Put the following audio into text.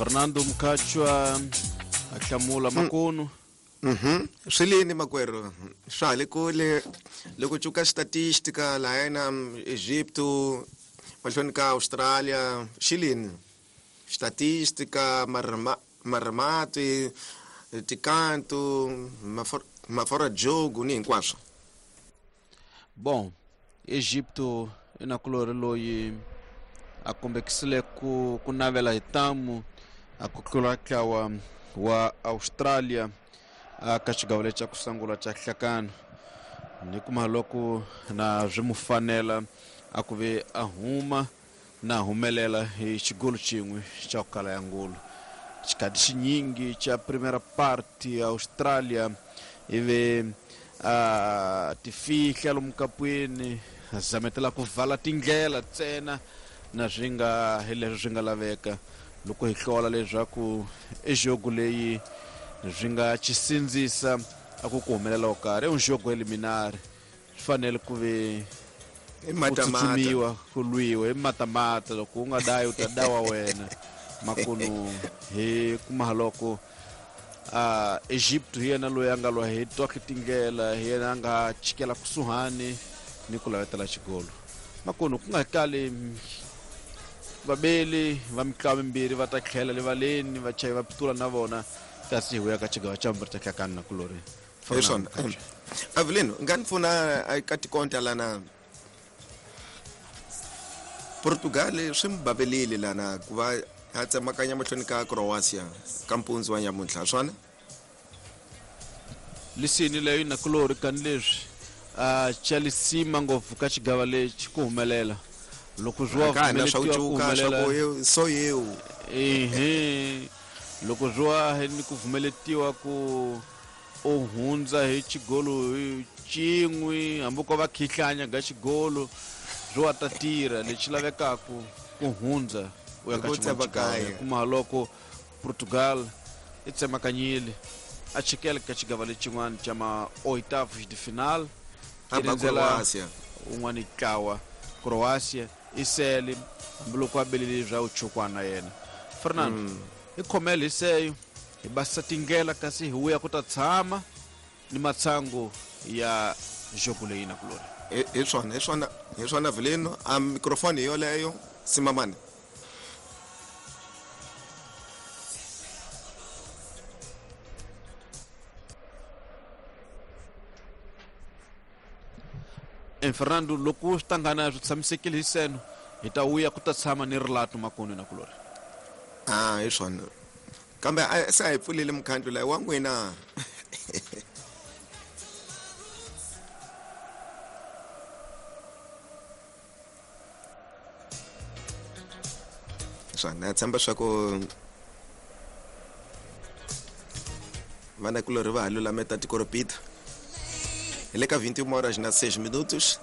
Fernando Mkhatshwa a hlamula makunu. Swi lini makwerhu swa ha le kule loko cuka statistica lahayana Egypto mahlweni ka Australia xi lini statistica marimati tikantu mafora jogo ni hinkwaswo. Bom, Egipto i nakulorhi loyi a kombekisile ku navela hi ntamu a ku tlula ntlawa wa Australia a ka xigava lexi xa ku sungula xa nhlakano ni kuma loko na swi mu fanela a ku ve a huma na humelela hi xigolo xin'we xa ku kala ya ngolo. Xikhati xinyingi xa primera parte ya Australia ivi a tifihla lomu kapwini a zametela ku vala tindlela ntsena na swi nga hi leswi swi nga laveka loko hi hlola leswaku ejogo leyi swi nga chisindzisa a ku ku humelela wo karhi i un jogo eliminar swi fanele ku ve I ku matamata. Tsutshumiwa ku lwiwa hi matamata loko u nga dayi u ta dawa wena makunu hi kuma loko a Egypt hi yena loyi a nga lwa hi tohle tindlela hi yena a nga chikela kusuhani ni ku lavetela xigolo makunu ku nga kali vabeli va mitlawa mimbirhi va ta tlhela rivaleni vachayi va pitula na vona kasi hi vuya ka xigava xa vumbirhi xa hlakani na kulori. Hi swona Avelino nga ni pfuna ka tikonta lana Portugal swi mi bavelile lana ku va a tsemakanya mahlweni ka Croatia ka mpundzu wa nyamuntlha swona. Lisini leyo na kulori kani leswi a chalisima ngopfu ka xigava lexi ku humelela loko swi wa ka na swa ku pfumeletiwa ku cuka swa humelela ku eu so eu ehe loko swi wa ni ku pfumeletiwa ku u hundza hi xigolo hi xin'we hambi ko va khihlanya ga xigolo swi wa ta tirha lexi lavekaku ku hundza u ya ka Hi ku xin'wana xigava tsemakanya. kuma loko Portugal i tsemakanyile a chikela ka xigava lexin'wana xa ma oitavos de final A i ba rindzela Croatia. un'wana ntlawa Croatia i sele hambiloko a belele bya uchukwana yena Fernando i khomele hi seyo hi basisa tindlela kasi hi vuya ku ta tshama ni matshangu ya jogo leyi na kulori. Hi swona hi swona hi swona Avelino a microphone hi yoleyo simamani. Fernando loko swi tangana swi tshamisekile hi seno hi ta vuya ku ta tshama ni rilato makoni na kulori. A hi swona kambe a se a hi pfulile mukhandlu layi wa n'wina. Swona na tshemba swa ku vanakulorhi va ha lulameta tikoropita hi le ka 21 horas na 6 minutos.